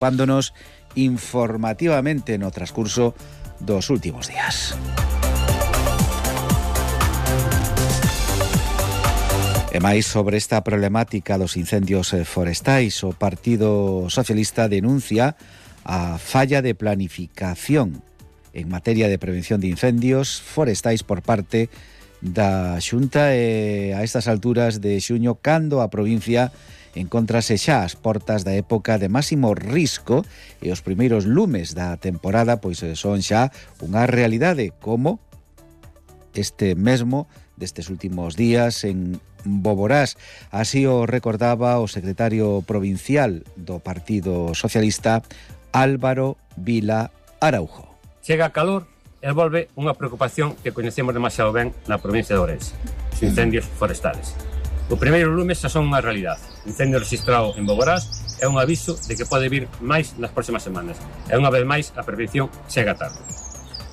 ocupándonos informativamente no transcurso dos últimos días. E máis sobre esta problemática dos incendios forestais, o Partido Socialista denuncia a falla de planificación en materia de prevención de incendios forestais por parte da Xunta e a estas alturas de xuño, cando a provincia encontrase xa as portas da época de máximo risco e os primeiros lumes da temporada pois son xa unha realidade, como este mesmo destes últimos días en Boborás. Así o recordaba o secretario provincial do Partido Socialista, Álvaro Vila Araujo. Chega a calor e volve unha preocupación que coñecemos demasiado ben na provincia de Ourense, os incendios forestales. O primeiro lume xa son unha realidade. O incendio registrado en Boborás é un aviso de que pode vir máis nas próximas semanas. E unha vez máis a prevención chega tarde.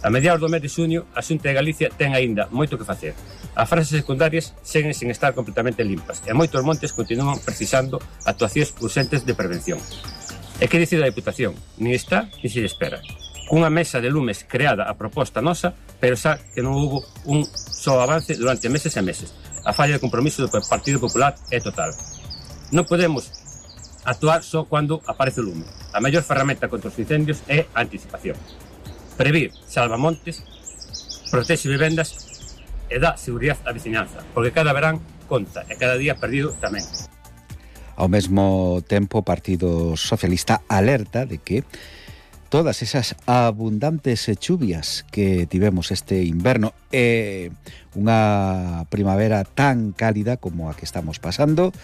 A mediados do mes de xuño, a Xunta de Galicia ten aínda moito que facer. As frases secundarias seguen sin estar completamente limpas e moitos montes continúan precisando actuacións urxentes de prevención. E que dicir da Deputación? Nin está, nin se espera. Cunha mesa de lumes creada a proposta nosa, pero xa que non houbo un só avance durante meses e meses. A falla de compromiso do Partido Popular é total. Non podemos actuar só cando aparece o lume. A mellor ferramenta contra os incendios é a anticipación. Previr salva montes, protexe vivendas e dá seguridade á veciñanza, porque cada verán conta e cada día perdido tamén. Ao mesmo tempo, o Partido Socialista alerta de que todas esas abundantes chuvias que tivemos este inverno e unha primavera tan cálida como a que estamos pasando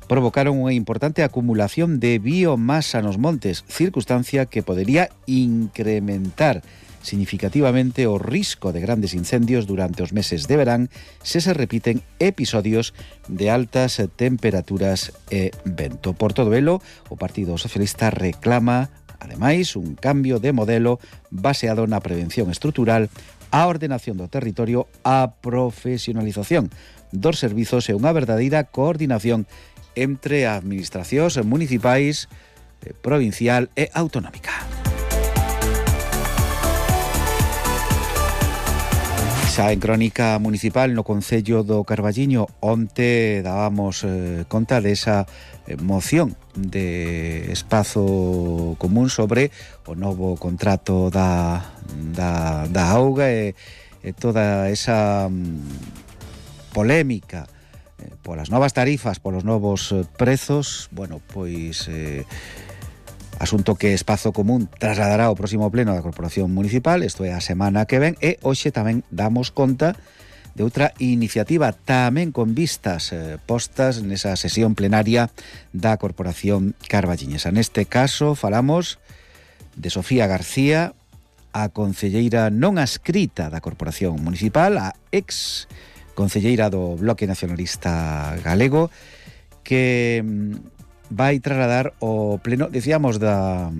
provocaron unha importante acumulación de biomasa nos montes, circunstancia que podería incrementar significativamente o risco de grandes incendios durante os meses de verán se repiten episodios de altas temperaturas e vento. Por todo elo, o Partido Socialista reclama, ademais, un cambio de modelo baseado na prevención estrutural, a ordenación do territorio, a profesionalización dos servizos e unha verdadeira coordinación entre administracións municipais, provincial e autonómica. Xa en crónica municipal no Concello do Carballiño, onte dábamos conta desa moción de espazo común sobre o novo contrato da auga e toda esa polémica polas novas tarifas, polos novos prezos. Bueno, pois asunto que Espazo Común trasladará ao próximo pleno da Corporación Municipal, isto é a semana que ven, e hoxe tamén damos conta de outra iniciativa tamén con vistas postas nesa sesión plenaria da Corporación Carballiñesa. Neste caso falamos de Sofía García, a concelleira non adscrita da Corporación Municipal, a ex concelleira do Bloque Nacionalista Galego, que vai trasladar o pleno, decíamos da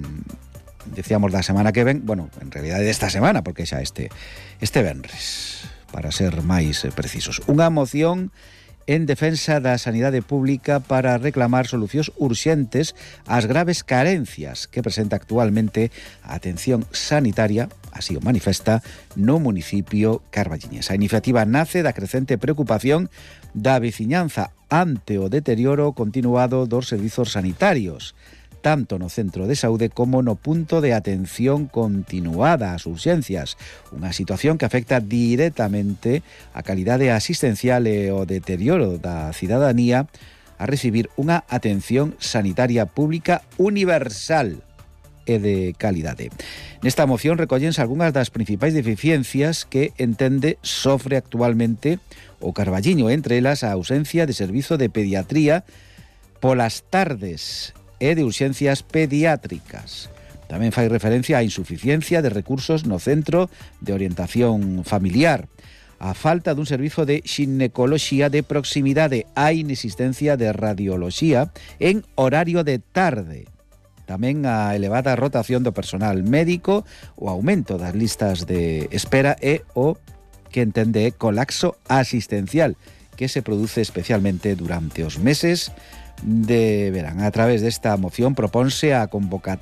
semana que ven, bueno, en realidade desta semana, porque xa este venres, para ser máis precisos. Unha moción en defensa da sanidade pública para reclamar solucións urxentes ás graves carencias que presenta actualmente a atención sanitaria, así o manifesta, no municipio carballiñés. A iniciativa nace da crecente preocupación da veciñanza ante o deterioro continuado dos servizos sanitarios, tanto no centro de saúde como no punto de atención continuada ás urxencias, unha situación que afecta directamente a calidade asistencial e o deterioro da cidadanía a recibir unha atención sanitaria pública universal e de calidade. Nesta moción recollense algunhas das principais deficiencias que entende sofre actualmente o Carballiño, entre elas a ausencia de servizo de pediatría polas tardes e de urxencias pediátricas. Tamén fai referencia á insuficiencia de recursos no centro de orientación familiar, a falta dun servizo de xinecoloxía de proximidade, a inexistencia de radioloxía en horario de tarde, tamén a elevada rotación do personal médico, o aumento das listas de espera e o que entende colapso asistencial que se produce especialmente durante os meses de verán. A través desta moción proponse a convocatoria